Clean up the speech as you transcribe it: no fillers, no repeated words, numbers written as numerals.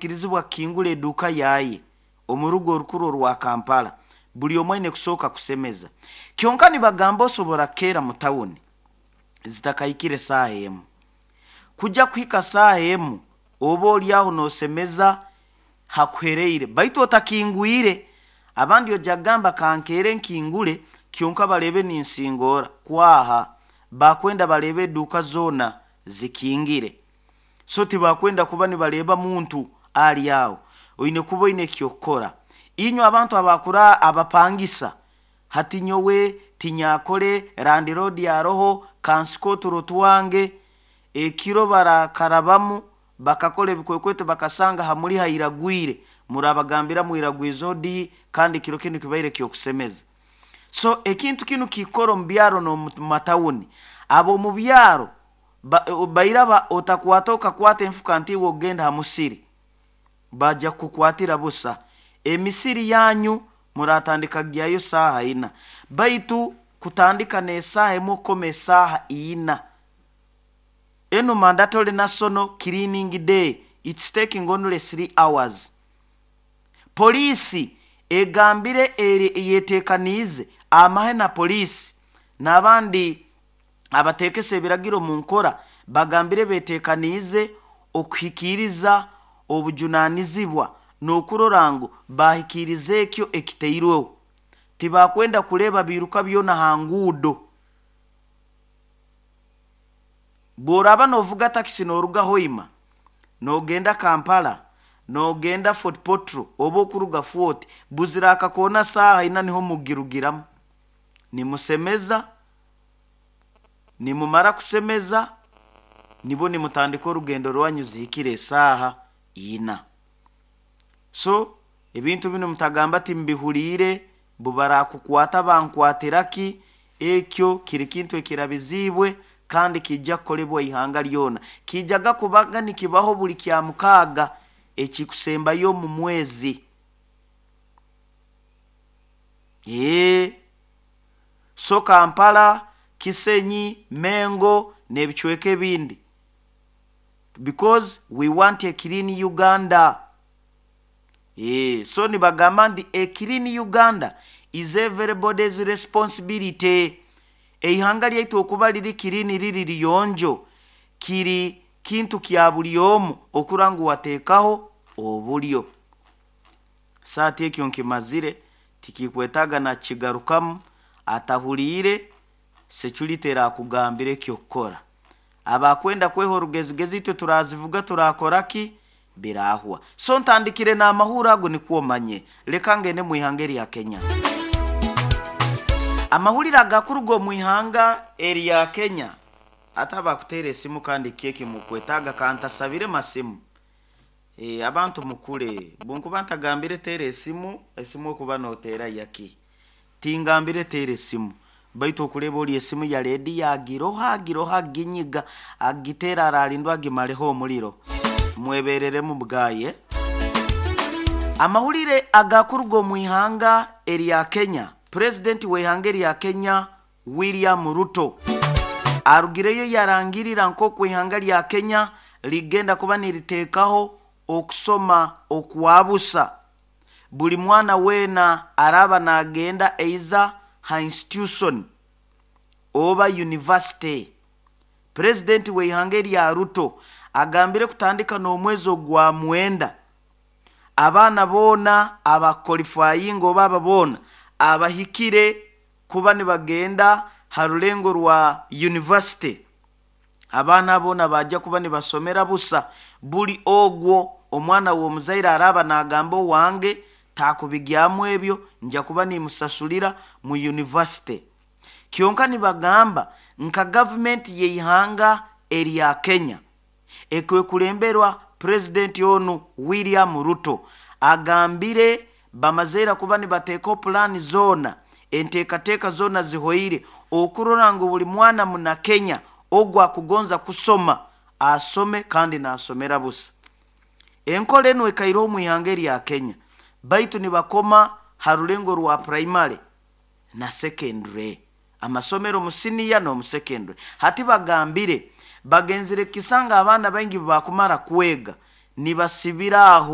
Takukirizibwa kukingura eduuka yaye omu rugo orukuru orwa Kampala. Buli omu aine kusooka kusemeza. Kyonka nibagamba osobora kukeera mu tawuni zitakahikire saaha emu. Kujya kuhika saaha emu oba oli aho noosemeza hakuhereire, baitu otakingwire. Abandi ojja kugamba kankeere nkingule kyonka baleebe ninsingoora. Kwaha bakwenda baleebe eduuka zoona zikingire. So tibakwenda kuba nibareeba muntu ali aho. Oine kuba oine eky'okukora. Inywe abantu abakura abapangisa, hati nyowe tinyakole landlord aroho kansike oturo twange. Ekiro barakarabamu bakakora ebikwekweto bakasanga hamuli hairagwire, murabagambira mwiragwize odi, kandi kiro kinu kibaire ky'okusemeza. So ekintu kinu kikora omu byaro n'omu matawuni. Ab'omu byaro bairaba otakwata okakwata enfuka nti iwe ogenda ha musiri, bajja kukukwatira busa. Emisiri yanyu muratandika kugyayo saaha ina, baitu kutandika n'esaaha emu okukoma esaaha ina. Enu mandatory national cleaning day, it's taking only 3 hours. Poliisi egambire yetekaniize amahe na poliisi n'abandi abateekesa ebiragiro mu nkora, bagambire betekaniize okuhikiiriza obujunaanizibwa n'okurora ngu bahikiiriza ekyo ekitairweho. Tibakwenda kureeba biiruka byona ha nguudo. Bw'oraaba noovuga takisi nooruga Hoima noogenda Kampala, noogenda Fort Portal oba okuruga Fort, buzira akakoona saaha ina niho mugirugiramu. Nimusemeza, nimumara kusemeza nibwo nimutandika orugendo rwanyu zihikire esaaha ina. So ebintu binu mutagamba timbihuliire, bubarakukwata bankwatira ki, ekyo kiri kintu ekirabiziibwe kandi kijja kukolebwa ihanga lyona. Kijaga kubaga nikibaho buli kya mukaaga ekikusembayo omu mwezi. So Kampala, Kisenyi, Mengo n'ebicweka ebindi, because we want a clean Uganda. So nibagamba nti a clean Uganda is everybody's responsibility. Eihanga lyaitu okuba riri clean, riri riyonjo, kiri kintu kya buli omu okura ngu wateekaho obulyo. Saati ekyo nkimazire, tikikwetaaga nakigarukamu. Atahuliire, security erakugambira ekyokukora. Abakwenda kweha orugezigezi, itwe turazivuga turakora ki birahwa. So ntandikire n'amahuro ago nikwo omanye. Leka ngende mu ihanga erya Kenya. Amahurire agakuruga omu ihanga erya Kenya, ate abakuteera esimu kandi keki mukwetaaga kantasabire masimu. Abantu mukule, bunkuba ntagambire teera esimu, esimu okuba noteera yaki? Tingambire teera esimu, baitu okureba ori esimu ya rediyo agiroha agiroha aginyiga agiteera ararindwa agimareho omuriro. Mwebereremu bwaye. Amahurire agakuruga omu ihanga erya Kenya, purezidenti w'eihanga erya Kenya William Ruto arugireyo yarangirira nk'oku ihanga lya Kenya ligenda kuba niriteekaho okusoma okwabusa. Buli mwana weena araaba naagenda eiza ha institution oba university. Purezidenti w'eihanga erya Ruto agambire kutandika n'omwezi ogwa mwenda, abaana boona abaqualifyinga oba aba boona abahikire kuba nibagenda ha rulengo rwa university, abaana boona bajja kuba nibasomera busa. Buli ogwo omwana w'omuzaire araaba naagamba owange taakubigyamu ebyo, nja kuba nimusasulira mu university. Kyonka nibagamba nka gavumenti y'eihanga erya Kenya ekwekulemberwa purezidenti onu William Ruto, agambire bamazeera kuba nibateekaho pulaani zoona, enteekateeka zoona zihoire okurora ngu buli mwana muna Kenya ogwo akugonza kusoma asome kandi naasomera busa. Enkora enu ekaireho omu ihanga erya Kenya, baitu nibakoma ha rulengo rwa primary na secondary, amasomero mu siniya n'omu secondary. Hati bagambire bagenzire kisanga abaana baingi bakumara kwega nibasibira aho.